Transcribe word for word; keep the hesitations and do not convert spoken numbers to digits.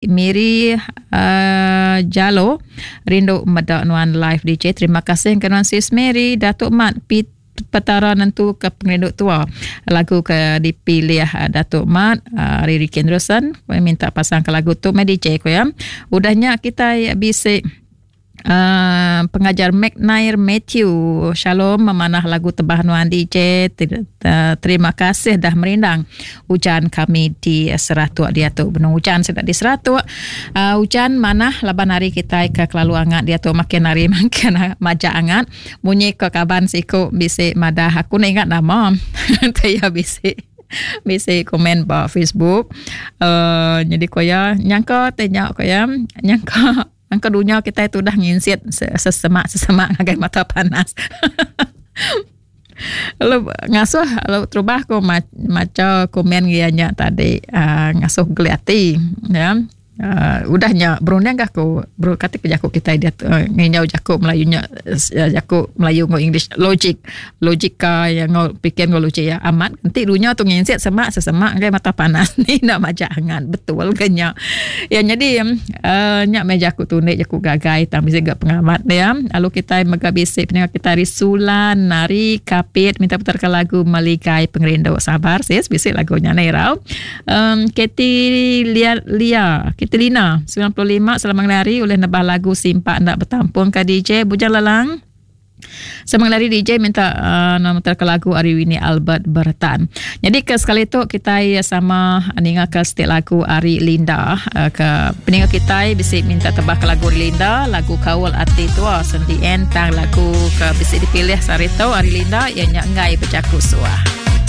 Miri uh, Jalo rindu meda nuan live D J. Terima kasih ke nuan sis Mary. Datuk Mat Pit Petara nentu ke pengerindu tua. Lagu ke dipilih Datuk Mat uh, Riri Kendrusen minta pasang ke lagu tu meh D J ko ya. Udahnya kita bisi Uh, pengajar McNair Matthew. Shalom, memanah lagu tebah nuan D J. Terima kasih dah merindang hujan kami di Seratuk dia tu. Benung hujan sedang di Seratuk. Uh, hujan manah laban hari kita ke kelalu angat dia tu, makin hari makin majak angat. Munyi ke kaban siku bisi madah aku nak ingat nama. Taya bisi bisi komen ba Facebook. Uh, jadi koya nyangka tanya koya nyangka angka dunia kita itu dah nginsit sesemak-sesemak ngagai mata panas. Lalu ngasuh lalu terubah aku maca komen dia nya tadi uh, ngasuh geliati ya. Uh, udahnya berundang aku bro kata ke jaku kita dia uh, nginyau jaku Melayunya uh, jaku Melayu ngau English logik logika yang ngau pikir ngau logik ya amat nanti dunia tu nginsit semak sesemak ngagai mata panas ni nak majak hangat betul ke nya ya. Jadi uh, nyak me jaku tunik jaku gagai tang bisa gak pengamat ya. Lalu kita mega bisi pendengar kita Risulan Nari Kapit minta putar ke lagu Meligai Pengerindu. Sabar sis bisi lagunya ni rau. Um, Keti Lia Lia Lina sembilan puluh lima selamat hari oleh nebah lagu Simpak Nak Bertampung ke D J Bujang Lelang. Semang lari D J minta uh, nama ke lagu Ari Winnie Albert Bertan. Jadi ke sekali tu kita sama ninga ke setiap lagu Ari Linda. Uh, ke peninga kita bisi minta tebah ke lagu Ari Linda, lagu Kawal Ati Tua Sendi Entang lagu ke bisi dipilih sehari tu Ari Linda ianya Ngai Bejaku Suah.